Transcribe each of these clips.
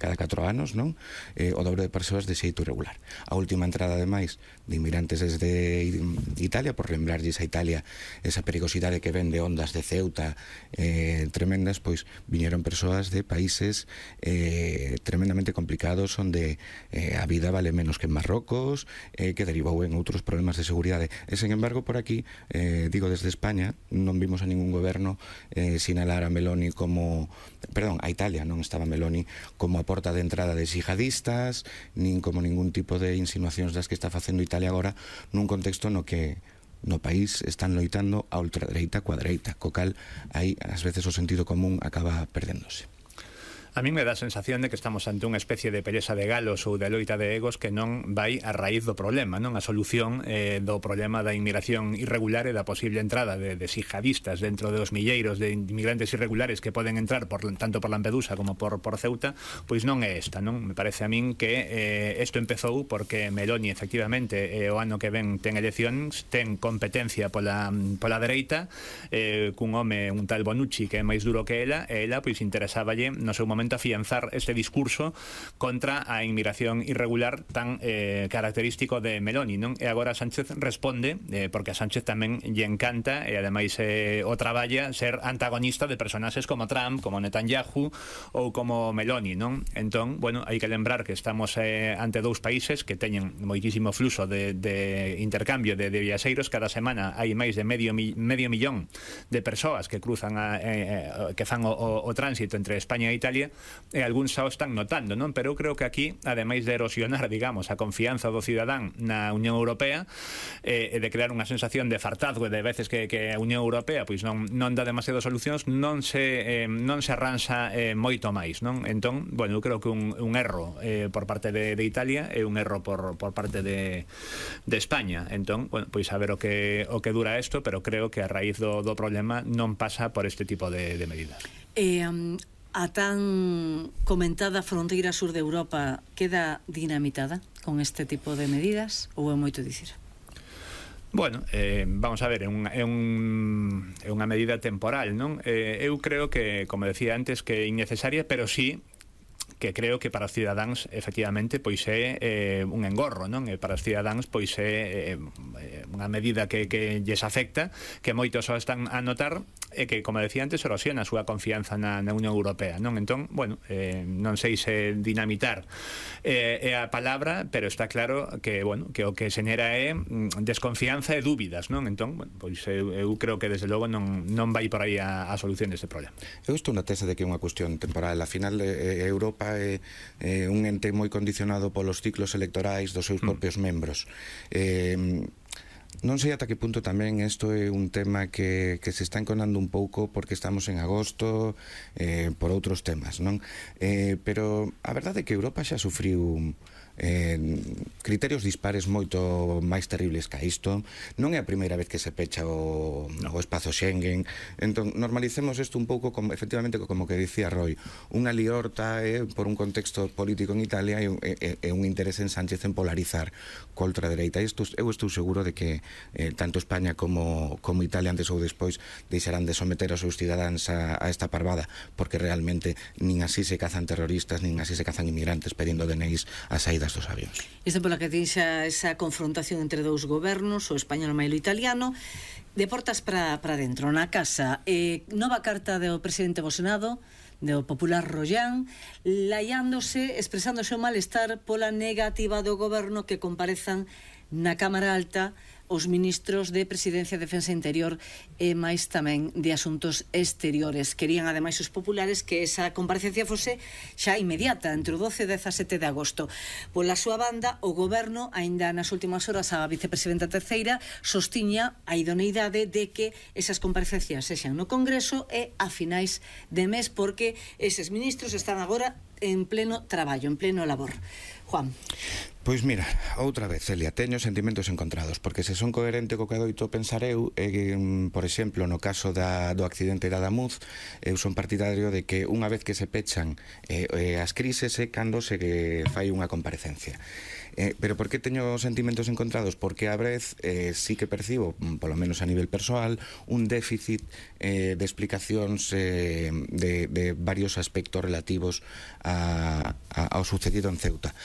cada 4 anos, non? O dobre de persoas de xeito irregular. A última entrada, ademais, de inmigrantes desde Italia, por lembrarlles a Italia esa perigosidade que ven de ondas de Ceuta tremendas, pois viñeron persoas de países tremendamente complicados, onde a vida vale menos que en Marrocos, que derivou en outros problemas de seguridade. E, sen embargo, por aquí, digo desde España, non vimos a ningún goberno sinalar a Meloni como... Perdón, a Italia non estaba Meloni como a porta de entrada de xihadistas, nin como ningún tipo de insinuacións das que está facendo Italia agora, nun contexto no que no país están loitando a ultradereita coa dereita, co cal aí ás veces o sentido común acaba perdéndose. A mí me dá a sensación de que estamos ante unha especie de peleza de galos ou de loita de egos que non vai a raíz do problema, non a solución do problema da inmigración irregular e da posible entrada de xihadistas dentro dos milleiros de inmigrantes irregulares que poden entrar tanto por Lampedusa como por Ceuta, pois non é esta, non? Me parece a min que isto empezou porque Meloni, efectivamente, o ano que ven ten eleccións, ten competencia pola dereita, cun home, un tal Bonucci, que é máis duro que ela, e ela, pois, interesáballe no seu momento afianzar este discurso contra a inmigración irregular tan característico de Meloni, non? E agora Sánchez responde, porque a Sánchez tamén lle encanta e ademais o traballa ser antagonista de personaxes como Trump, como Netanyahu ou como Meloni, non? Entón, bueno, hai que lembrar que estamos ante dous países que teñen moitísimo fluxo de intercambio de viaxeiros. Cada semana hai máis de medio millón de persoas que cruzan que fan o tránsito entre España e Italia, e algúns xa o están notando, non? Pero eu creo que aquí, ademais de erosionar, digamos, a confianza do cidadán na Unión Europea e de crear unha sensación de fartazgo de veces que a Unión Europea pois non dá demasiadas solucións, non se arranxa moito máis, non? Entón, bueno, eu creo que un erro por parte de Italia e un erro por parte de España. Entón, bueno, pois a ver o que dura isto, pero creo que a raíz do problema non pasa por este tipo de medidas. A tan comentada fronteira sur de Europa queda dinamitada con este tipo de medidas ou é moito dicir? Bueno, vamos a ver, é unha medida temporal, non? Eu creo que, como decía antes, que é innecesaria, pero sí que creo que para os cidadáns efectivamente pois é un engorro, non? E para os cidadáns pois é unha medida que lles afecta, que moitos só están a notar e que, como decía antes, erosiona a súa confianza na Unión Europea, non? Entón, bueno, non sei se dinamitar é a palabra, pero está claro que, bueno, que o que xenera é desconfianza e dúbidas, non? Entón, bueno, pois eu creo que desde logo non vai por aí a solución deste problema. Eu estou na tese de que é unha cuestión temporal. A final, Europa é un ente moi condicionado polos ciclos electorais dos seus propios membros. Non sei ata que punto tamén isto é un tema que se está enconando un pouco porque estamos en agosto, por outros temas, non? Pero a verdade é que Europa xa sufriu criterios dispares moito máis terribles que isto. Non é a primeira vez que se pecha o espazo Schengen. Entón, normalicemos isto un pouco como, efectivamente, como que dicía Roy, unha liorta por un contexto político en Italia e un interés en Sánchez en polarizar co ultradereita. Eu estou seguro de que tanto España como Italia, antes ou despois, deixarán de someter aos seus cidadáns a esta parvada, porque realmente nin así se cazan terroristas, nin así se cazan inmigrantes pedindo DNIs a saída dos avións. Isto pola que tixa esa confrontación entre dous gobernos, o español e o italiano, de portas para dentro, na casa. Nova carta do presidente do Senado, do popular Rollán, laiándose, expresándose o malestar pola negativa do goberno que comparezan na Cámara Alta os ministros de Presidencia, Defensa e Interior e máis tamén de Asuntos Exteriores. Querían, ademais, os populares que esa comparecencia fose xa inmediata, entre o 12 e 17 de agosto. Pola súa banda, o goberno, aínda nas últimas horas, a vicepresidenta terceira sostiña a idoneidade de que esas comparecencias sexan no Congreso e a finais de mes, porque eses ministros están agora en pleno traballo, en pleno labor. Juan. Pois mira, outra vez, Celia, teño sentimentos encontrados, porque se son coherente co que adoito pensar eu, por exemplo, no caso do accidente da Adamuz, eu son partidario de que unha vez que se pechan as crises é cando se fai unha comparecencia. Pero por que teño sentimentos encontrados? Porque a vez sí que percibo, polo menos a nivel persoal, un déficit de explicacións de varios aspectos relativos a ao sucedido en Ceuta.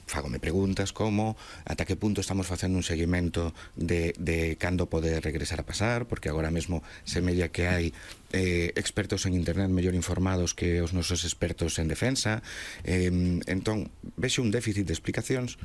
Fágome preguntas como ata que punto estamos facendo un seguimento de cando pode regresar a pasar, porque agora mesmo semella que hai expertos en internet mellor informados que os nosos expertos en defensa. Entón, vexo un déficit de explicacións.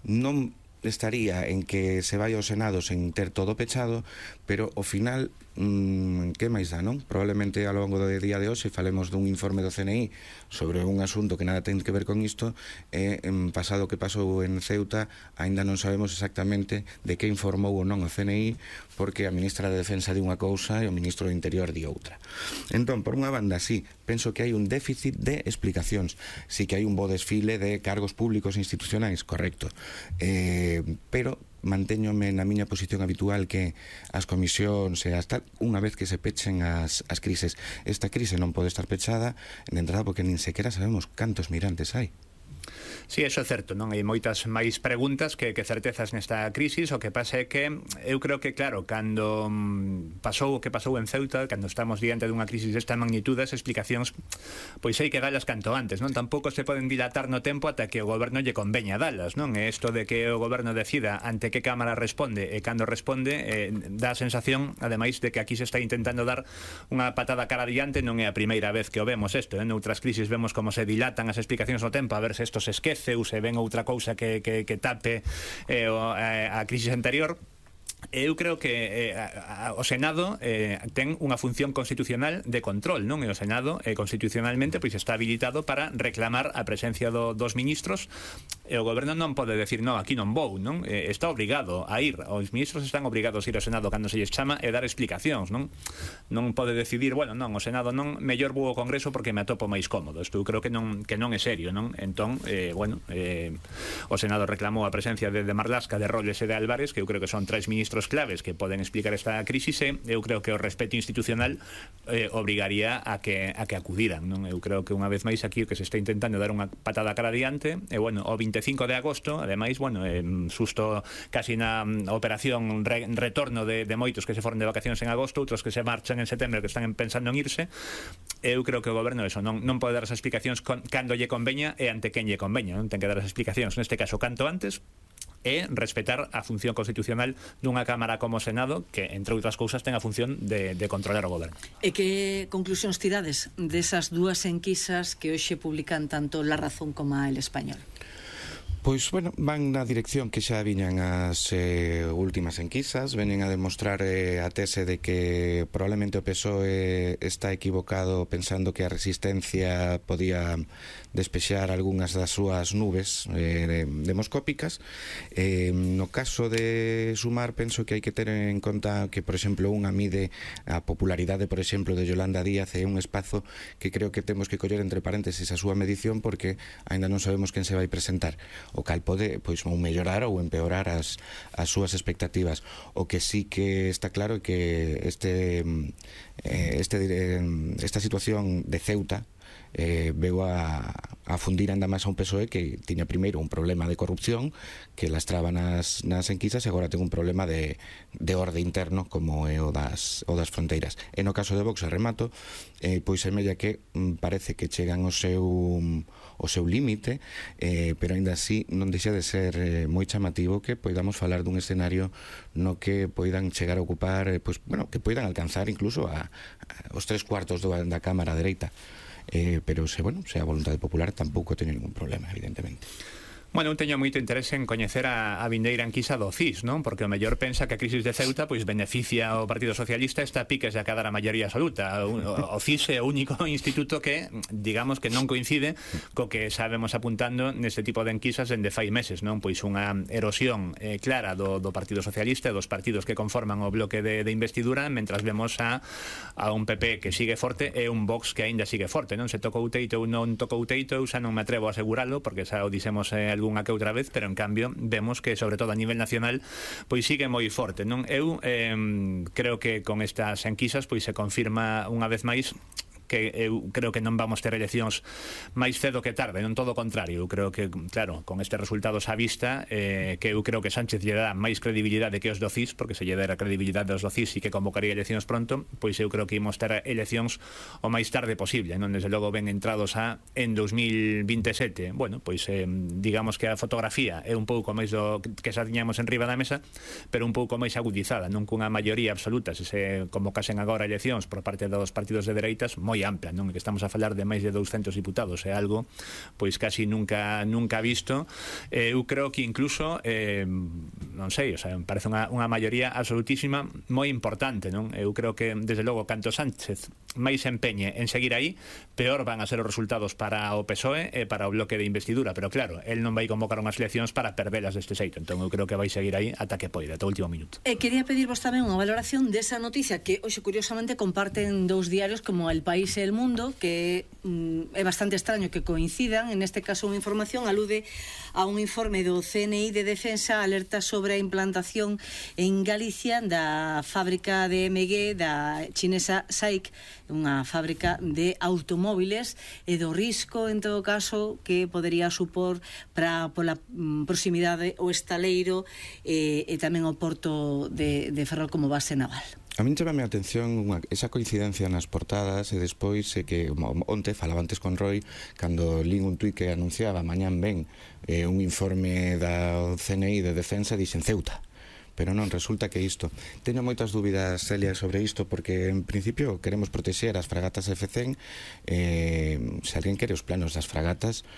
Non estaría en que se vai ao Senado sen ter todo pechado, pero ao final que máis dá, non? Probablemente ao longo do día de hoxe falemos dun informe do CNI sobre un asunto que nada ten que ver con isto, e pasado o que pasou en Ceuta aínda non sabemos exactamente de que informou ou non o CNI, porque a ministra de Defensa di unha cousa e o ministro do Interior di outra. Entón, por unha banda, sí, penso que hai un déficit de explicacións, sí que hai un bo desfile de cargos públicos e institucionais, correcto, pero mantéñome na miña posición habitual, que as comisións e hasta unha vez que se pechen as crises. Esta crise non pode estar pechada de entrada porque nin sequera sabemos cantos mirantes hai. Sí, eso é certo, non? Hai moitas máis preguntas que certezas nesta crisis. O que pasa é que eu creo que, claro, cando pasou o que pasou en Ceuta, cando estamos diante dunha crisis desta magnitude, as explicacións pois hai que dalas canto antes, non? Tampouco se poden dilatar no tempo ata que o goberno lle conveña dalas, non? E isto de que o goberno decida ante que cámara responde e cando responde dá a sensación, ademais, de que aquí se está intentando dar unha patada cara adiante. Non é a primeira vez que o vemos isto, en outras crisis vemos como se dilatan as explicacións no tempo a ver se isto se esquece ou se ven outra cousa que tape a crisis anterior. Eu creo que o Senado ten unha función constitucional de control, non? E o Senado constitucionalmente pois está habilitado para reclamar a presencia dos ministros, e o goberno non pode decir no, aquí non vou, non? Está obrigado a ir, os ministros están obrigados a ir ao Senado cando se lles chama e dar explicacións, non? Non pode decidir, bueno, non, o Senado non, mellor vou ao Congreso porque me atopo máis cómodo. Isto eu creo que non é serio, non? Entón, o Senado reclamou a presencia de Marlaska, de Rolles e de Álvarez, que eu creo que son tres ministros claves que poden explicar esta crisis, e eu creo que o respeto institucional obrigaría a que acudiran, non? Eu creo que unha vez máis aquí o que se está intentando dar unha patada cara adiante, e bueno, o 25 de agosto, ademais, bueno, susto casi na operación retorno de moitos que se foron de vacacións en agosto, outros que se marchan en setembro, que están pensando en irse. Eu creo que o goberno eso non pode dar as explicacións cando lle conveña e ante quen lle conveña, non? Ten que dar as explicacións, neste caso, canto antes, e respetar a función constitucional dunha Cámara como o Senado, que, entre outras cousas, ten a función de controlar o goberno. E que conclusións tirades desas dúas enquisas que hoxe publican tanto La Razón como El Español? Pois, bueno, van na dirección que xa viñan as últimas enquisas, venen a demostrar a tese de que probablemente o PSOE está equivocado pensando que a resistencia podía despexar algunhas das súas nubes demoscópicas. No caso de Sumar, penso que hai que ter en conta que, por exemplo, unha mide a popularidade, por exemplo, de Yolanda Díaz, é un espazo que creo que temos que coller entre paréntesis a súa medición, porque aínda non sabemos quen se vai presentar, o cal pode pois ou mellorar ou empeorar as súas expectativas. O que sí que está claro é que esta situación de Ceuta veu a fundir ainda máis a un PSOE que tiña primeiro un problema de corrupción que lastraba nas enquisas, e agora ten un problema de orde interno como é o das fronteiras. E no caso de Vox, a remato, pois semella que parece que chegan ao seu límite, pero aínda así non deixa de ser moi chamativo que poidamos falar dun escenario no que poidan chegar a ocupar, pois, bueno, que poidan alcanzar incluso os 3/4 da Cámara dereita. Pero se a voluntade popular tampouco teño ningún problema, evidentemente. Bueno, eu teño moito interese en coñecer a vindeira enquisa do CIS, non? Porque o mellor pensa que a crisis de Ceuta pois beneficia ao Partido Socialista, está a piques de acadar a maioría absoluta. O CIS é o único instituto que, digamos, que non coincide co que sabemos apuntando neste tipo de enquisas dende fai meses, non? Pois unha erosión clara do Partido Socialista e dos partidos que conforman o bloque de investidura, mentras vemos a un PP que sigue forte e un Vox que aínda sigue forte, non? Se tocou teito ou non tocou teito, eu xa non me atrevo a aseguralo, porque xa o dixemos algunha que outra vez, pero en cambio vemos que, sobre todo a nivel nacional, pois sigue moi forte, non? Eu creo que con estas enquisas pois se confirma unha vez máis que eu creo que non vamos ter eleccións máis cedo que tarde, non todo o contrario. Eu creo que, claro, con estes resultados á vista, que eu creo que Sánchez lle dá máis credibilidade que os do CIS, porque se lle dera credibilidade aos do CIS e que convocaría eleccións pronto, pois eu creo que imos ter eleccións o máis tarde posible, non? Desde logo ben entrados en 2027. Bueno, pois digamos que a fotografía é un pouco máis do que xa tiñamos en riba da mesa, pero un pouco máis agudizada, non cunha maioría absoluta, se convocasen agora eleccións por parte dos partidos de dereitas, moi ampla, non? Que estamos a falar de máis de 200 diputados, é algo pois casi nunca visto. Eu creo que incluso non sei, o sea, me parece unha maioría absolutísima moi importante, non? Eu creo que desde logo canto Sánchez máis empeñe en seguir aí, peor van a ser os resultados para o PSOE e para o bloque de investidura, pero claro, el non vai convocar unhas eleccións para perdelas deste xeito, entón eu creo que vai seguir aí ata que poida, ata o último minuto. Quería pedirvos tamén unha valoración desa noticia que hoxe curiosamente comparten dous diarios como El País e El Mundo, que é bastante extraño que coincidan. En este caso unha información alude a un informe do CNI de Defensa, alerta sobre a implantación en Galicia da fábrica de MG da chinesa SAIC, unha fábrica de automóviles, e do risco, en todo caso, que podería supor pola proximidade o estaleiro e tamén o porto de Ferrol como base naval. A min chamame a atención esa coincidencia nas portadas, e despois que onte falaba antes con Roy cando lín un tuit que anunciaba mañán ben un informe da CNI de Defensa, dixen Ceuta. Pero non, resulta que isto teño moitas dúbidas, Celia, sobre isto, porque en principio queremos protexer as fragatas F-100. Se alguén quere os planos das fragatas,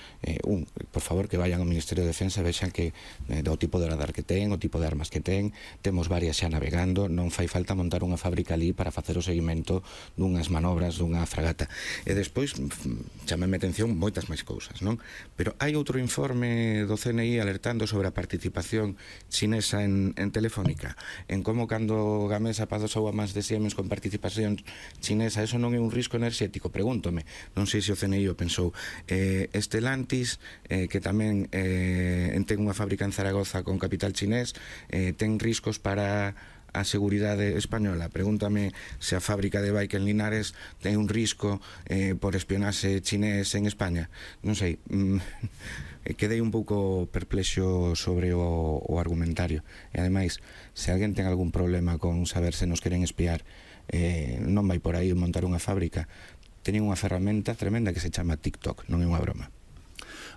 por favor que vayan ao Ministerio de Defensa, vexan que do tipo de radar que ten, o tipo de armas que ten, temos varias xa navegando, non fai falta montar unha fábrica ali para facer o seguimento dunhas manobras dunha fragata. E despois chamame atención moitas máis cousas, non? Pero hai outro informe do CNI alertando sobre a participación chinesa en Telefónica, en como cando Gamesa pasou a máis de Siemens con participación chinesa, eso non é un risco enerxético? Pregúntome, non sei se o CNI o pensou. Estelantis, que tamén ten unha fábrica en Zaragoza con capital chinés, ten riscos para a seguridade española. Pregúntame se a fábrica de Bike en Linares ten un risco por espionaxe chinés en España. Non sei, quedei un pouco perplexo sobre o argumentario. E ademais, se alguén ten algún problema con saber se nos queren espiar, non vai por aí montar unha fábrica. Teñen unha ferramenta tremenda que se chama TikTok, non é unha broma.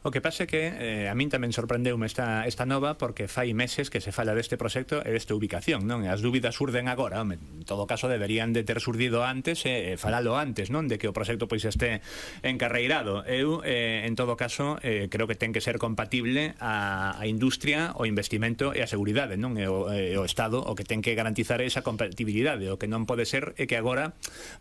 O que pasa é que a min tamén sorprendeume esta nova, porque fai meses que se fala deste proxecto e desta ubicación, non? E as dúbidas surden agora, en todo caso deberían de ter surdido antes e falalo antes, non? De que o proxecto pois este encarreirado. Eu, en todo caso, creo que ten que ser compatible a industria, o investimento e a seguridade, non? E o Estado o que ten que garantizar esa compatibilidade. O que non pode ser é que agora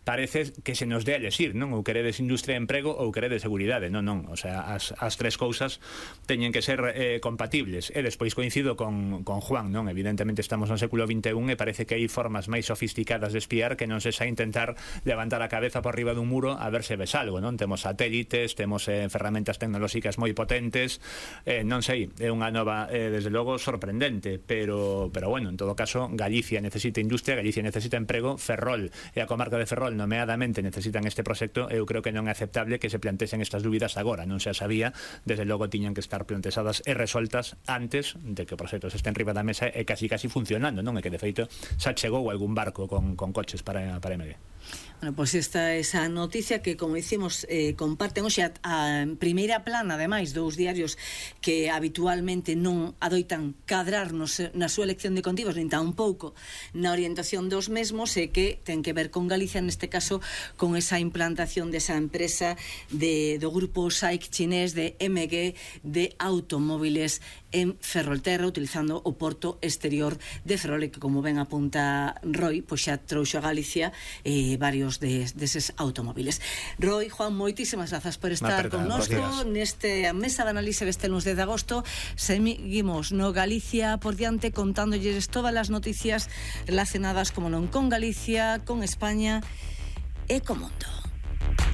parece que se nos dé a elexir, non? Ou queredes industria e emprego ou queredes seguridade. Non. O sea, as tres cousas teñen que ser compatibles. E despois coincido con Juan, non? Evidentemente estamos no século XXI e parece que hai formas máis sofisticadas de espiar que non se xa intentar levantar a cabeza por riba dun muro a ver se ves algo, non? Temos satélites, temos ferramentas tecnolóxicas moi potentes, non sei, é unha nova, desde logo, sorprendente, pero bueno, en todo caso, Galicia necesita industria, Galicia necesita emprego, Ferrol e a comarca de Ferrol nomeadamente necesitan este proxecto. Eu creo que non é aceptable que se plantesen estas dúbidas agora, non se sabía. Desde logo tiñan que estar planteadas e resoltas antes de que o proxecto se este en riba da mesa e casi funcionando, non? É que de feito xa chegou algún barco con coches para MG. Bueno, pois esta é esa noticia que, como dicimos, comparten hoxe a primeira plana, ademais, dous diarios que habitualmente non adoitan cadrarnos na súa elección de contivos, nin tampouco na orientación dos mesmos, e que ten que ver con Galicia, neste caso, con esa implantación desa empresa do grupo SAIC chinés de MG de automóviles en Ferrolterra, utilizando o porto exterior de Ferrol, que, como ben apunta Roy, pois xa trouxo a Galicia varios deses automóviles. Roy, Juan, moitísimas grazas por estar connosco neste mesa de análise deste lunes 10 de agosto. Seguimos no Galicia por diante contándolles todas as noticias relacionadas, como non, con Galicia, con España e co mundo.